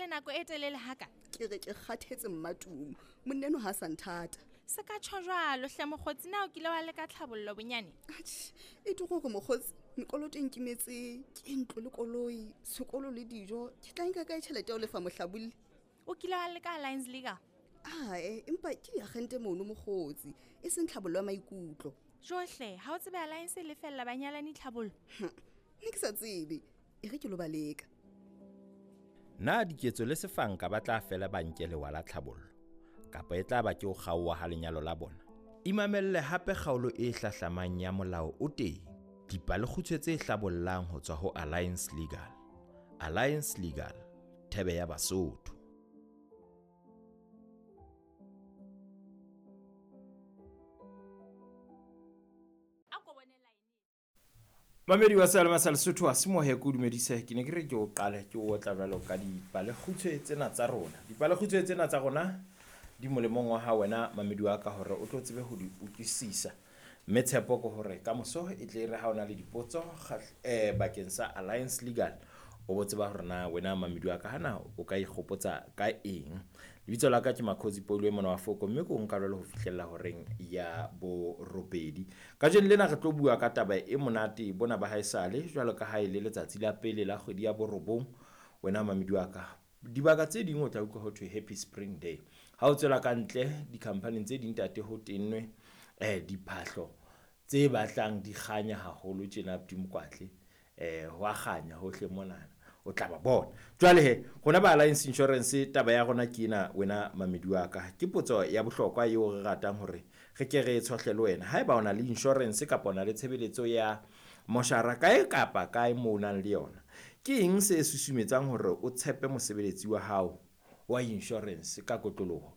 emele nako e telele haka? Ke re ke kgathetse mmatumo. Monna eno ha sa nthata. Se ka tjho jwalo hle mokgotsi, na o kile wa leka tlhabollo bonyane? Atjhe, e ke gore mokgotsi, mekoloto e nkimetse ke ntlo le koloi, sekolo le dijo. Ke tla nka kae tjhelete ya ho lefa mohlabolli? O kile wa leka Alliance Legal? Ae, empa ke diagente mono mokgotsi, e seng tlhabollo ya maikutlo. Johle, ha o tsebe Alliance e lefella banyalani tlhabollo? Ne ke sa tsebe, e re ke lo ba leka. Na diketso le sefanka ba tla fela ba nke lewa la tlhabollo, kapa e tla ba ke ho kgaoha ha lenyalo la bona? Imamelle hape kgaolo e hlahlamang ya Molao o Teng, dipalekgutshwe tse hlabollang ho tswa ho Alliance Legal. Alliance Legal, thebe ya Basotho. Mamedi wa Sealema sa Lesotho a semohe ke o dumedise, ke ne ke re ke o qale ke o otla jwalo ka dipalekgutshwe tsena tsa rona. Dipalekgutshwe tsena tsa rona di molemong wa hao wena mamedi wa ka hore o tlo tsebe ho di utlwisisa. Mme tshepo ke hore ka moso e tle re ha o na le dipotso bakeng sa Alliance Legal, o bo tseba hore na wena mamedi wa ka hana o ka ikgopotsa ka eng. Lebitso la ka ke Makhosi Paulo e mona wa Foko, mme ke o nka jwalo ho fihlella horeng ya borobedi. Kajeno lena re tlo bua ka taba e monate bona ba haesale, jwalo ka ha e le letsatsi la pele la kgwedi ya borobong. Wena mamedi wa ka, dibaka tse ding o tla utlwa ho thwe Happy Spring Day. Ha o tswela ka ntle di-company tse ding tate ho tennwe diphahlo tse batlang di kganya haholo tjena Abdi Mokwatle, ho a kganya hohle monana, o tla ba bona. Jwale he, rona ba Alliance Insurance taba ya rona ke ena wena mamedi wa ka. Ke potso ya bohlokwa eo re ratang hore re ke re e tshohle le wena. Haeba o na le insurance kapa o na le tshebeletso ya moshara kae kapa kae moo o nang le yona, ke eng se susumetsang hore o tshepe mosebeletsi wa hao wa insurance ka kotloloho?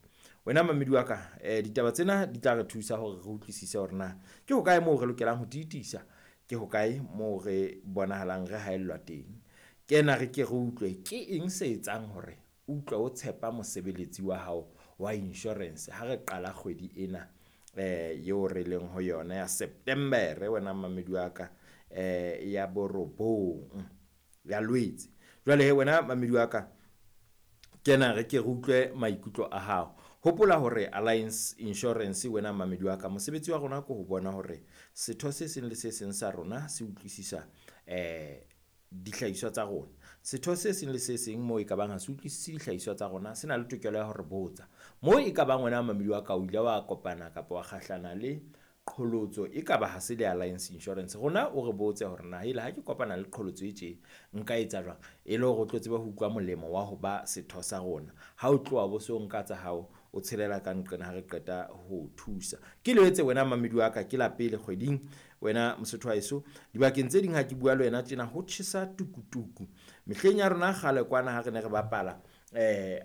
Wena mamedi wa ka, ditaba tsena di tla re thusa hore re utlwisise hore na ke hokae moo re lokelang ho tiisa, ke hokae moo re bonahalang re haellwa teng. Kena re ke re utlwe ke eng se etsang hore utlwe o tshepa mosebeletsi wa hao wa insurance ha re qala kgwedi ena eo re leng ho yona ya September, wena mamedi wa ka, ya borobong ya Lwetse. Jwale he wena mamedi wa ka, kena re ke re utlwe maikutlo a hao. Hopola hore Alliance Insurance, wena mamedi wa ka, mosebetsi wa rona ke ho bona hore setho se seng le se seng sa rona se utlwisisa dihlahiswa tsa rona. Setho se seng le se seng moo e ka bang ha se utlwisise dihlahiswa tsa rona, se na le tokelo ya hore botsa. Moo e ka bang wena mamedi wa ka o ile wa kopana kapa wa kgahlana le qholotso e ka ba ha se le Alliance Insurance, rona o re botse hore na hele ha ke kopana le qholotso e tje nka etsa jwang, e le hore o tlo tsebe ho utlwa molemo wa ho ba setho sa rona. Ha o tloha bo so nka tsa hao o tshelela ka nqena ha re qeta ho thusa. Ke letse wena mamedi wa ka, ke la pele kgweding wena Mosotho wa heso. Dibakeng tse ding ha ke bua le wena tjena ho tjhesa tukutuku. Mehleng ya rona kgale kwana ha re ne re bapala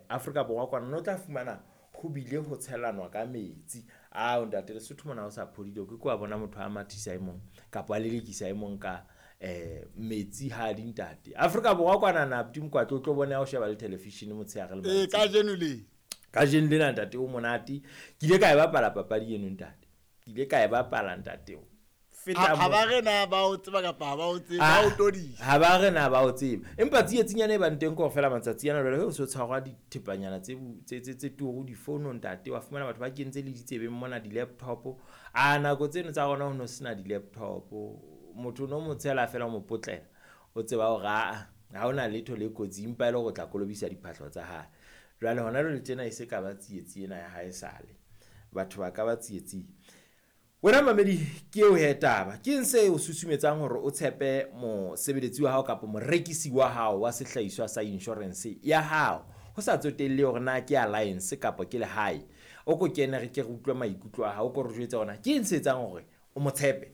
Afrika Borwa kwana, no tla fumana ho bile ho tshelanwa ka metsi. Ao ntate Lesotho mona o sa phodile, o ke ke wa bona motho a mathisa e mong kapa a lelekisa e mong ka metsi ha di ntate. Afrika Borwa kwana na Abdi Mokwatle o tlo bona o sheba le television motshehare le mantsiboya. Kajeno le. Kajeno lena ntate o monate. Ke ile ka e bapala papadi eno ntate. Ke ile ka e bapala ntate o. Feta Ha moo. ba re na ba o tseba kapa ha ba o tsebe, ba o todisa. Ha ba re na ba o tseba. Empa tsiyetsinyana e bang teng kaofela matsatsi ana jwale, he o so tshwarwa dithepanyana tse bu-, tse, tse, tse turu difounong ntate, wa fumana batho ba kentse le ditsebeng mona di-laptop. A nako tseno tsa rona ho no sena di-laptop. Motho o no mo tshela fela o mo potlela. O tseba hore aa, ha hona letho le kotsi, empa e le hore o tla kolobisa diphahlo tsa hae. Jwale hona jwale tjena e se ka ba tsietsi ena ya hae sale. Batho ba ka ba tsietsing. Wena mamedi, ke eo he taba. Ke eng se o susumetsang hore o tshepe mosebeletsi wa hao kapa morekisi wa hao wa sehlahiswa sa insurance ya hao? Ho sa tsotelle hore na ke Alliance kapa ke lehae. O ko kene re ke re utlwe maikutlo a hao, o ko re jwetse hore na ke eng se etsang hore o mo tshepe.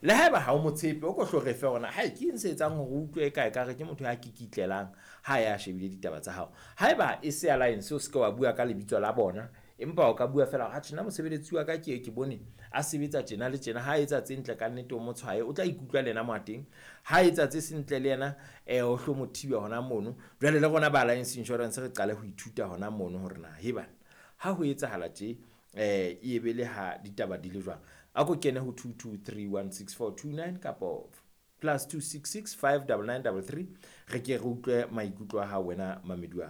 Le haeba ha o mo tshepe, o ko hlo re fe hore na, hai, ke eng se etsang hore o utlwe eka ekare ke motho ya kikitlelang ha ya shebile ditaba tsa hao. Haeba e se Alliance, o se ke wa bua ka lebitso la bona, empa o ka bua fela hore, atjhe, nna mosebeletsi wa ka ke e ke bone a sebetsa tjena le tjena, ha etsa tse ntle ka nnete o mo tshwaye, o tla ikutlwa le yena mo a teng. Ha etsa tse seng ntle le yena, o hlo mo thibe hona mono. Jwale le rona ba Alliance Insurance re qale ho ithuta hona mono hore na, he bana, ha ho etsahala tje, e be le ha ditaba di le jwang. A ko kene ho 22316429 kapo plus two six six five double nine double three, re ke re utlwe maikutlo a hao wena mamedi wa ka.